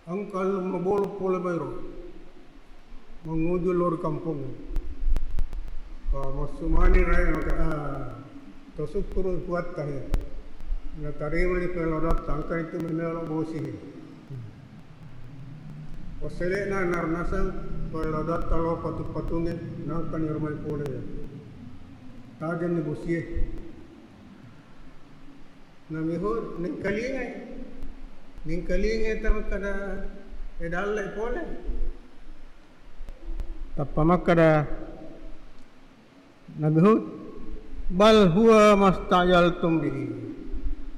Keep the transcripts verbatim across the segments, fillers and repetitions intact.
Engka lu mabolo pole mairo. Manguju lao ri kampongnge. Pa massu mani rae maka, ah, tasukkuru Puatta he. Natarimani pole lao datta, engkani tu memelo bosi he. Wassele'na narnaseng pole lao datta lao patu-patungnge, nangkani rumai pole ya. Tajenni bosie. Nabi Hud, nengkalingai. Nengkalingai ta makkada, e dalle pole. Tappa makkada Nabi Hud, "Bal huwa mastajaltum bihi."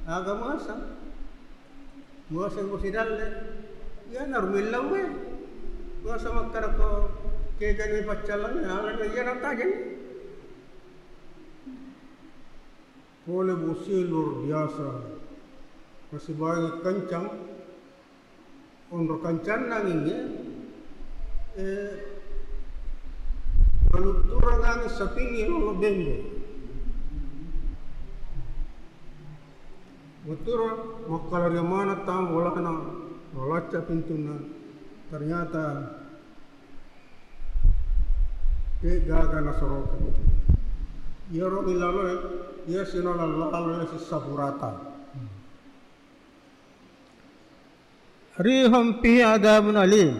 Aga muasa? Muasa bosi dalle. Iya naru millau e. Muasa makkada ko kegani paccallang, ala iya natajeng. Pole bosie luar biasa. Masih banyak kencang. Onro kancanna angingnge, eh, malutturang anging sapingnge lolo bembe. Matturo makkalariang maneng tama bolana, malacca pintunna. Ternyata de gaga nasoroka. Iyaro milaloe, iya sinola lalo sissa burata. Rihun fiha adzabun alim.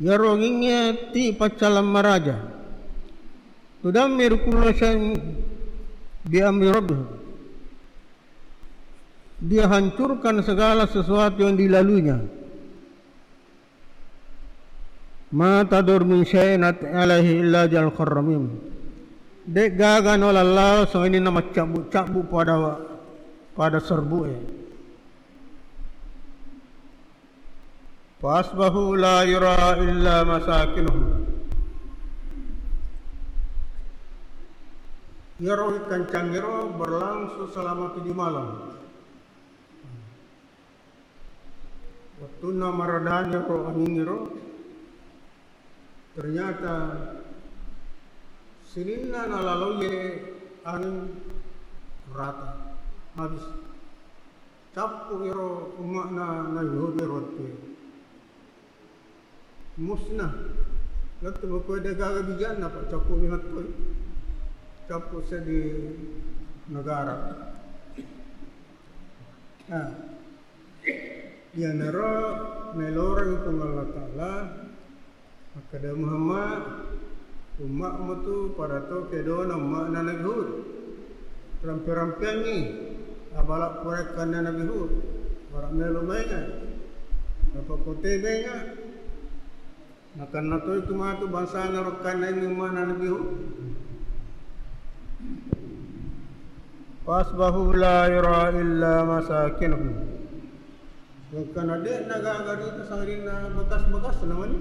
Iyaro angingnge ti paccallang maraja. Tudammiru kulla syai'in bi amri rabbihim. Dia hancurkan segala sesuatu yang dilaluinya. Ma tadur min syai'in alaihi illa ja'alahu karramim. De gaga naola lao sangadinna maccabbu-cabbu pada, pada serbu e. Fa asbahu la yura illa masakinuhum. Iyaro kancangngero berlangsung selama tujuh malam. Wettunna maradani ro angingngero, ternyata sininna nalaloie anging rata, habis. Cappu ero umma'na Nabi Hud ero wettu. Musnah. Lettu makkua de gaga bijanna, pa cappu ni makkua. Cappu seddi negara. Nah, iyanaro naeloreng Puang Allah Ta'ala. Makkeda Muhammad, umma'mu tu pada to kedona umma'na Nabi Hud. Rampe-rampeangngi abala puraekkanna Nabi Hud. Bara melo mainga. Apa kote mainga. Nakanna toi tu matu bangsana rokkanna ini umma'na Nabi Hud. Fasbahu la yura illa masakinuhum. Engkana de'na gaga rita sangadinna bekas-bekasna mani.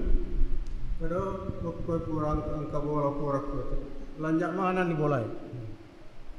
Pada makkua pura engka bola pura kutu. Lanja manenni bolae.